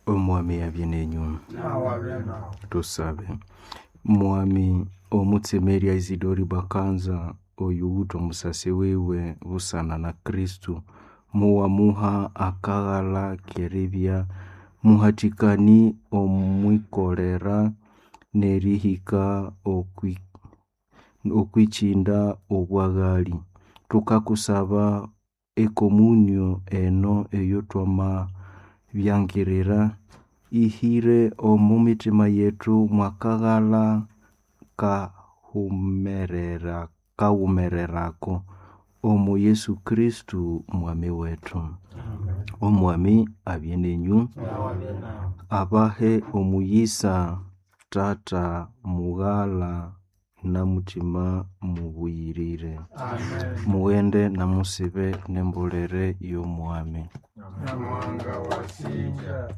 Omwami abye nenyu. Nawe abe nawe. Tusabe. Mwami omutsemerya Isidori Bakanza oyuwithe omusasi wiwe busana na Kristo, muwamuha akaghala k'eribya muhathikani omwikolera n'erihika okw'ikyinda obwaghali. Thukakusaba ekomunyo eno eyotwamabyangirira ihire omo mitima yethu mwakaghala kaghumererako omo Yesu Kristo Mwami wethu. Omwami abye nenyu. Nawe abe nawe. Abahe omuyisa Tata, Mughala na Mutima Mubuyirire. Amen. Mughende namusibe n'embolere y'Omwami. Nyamuhanga wasinja.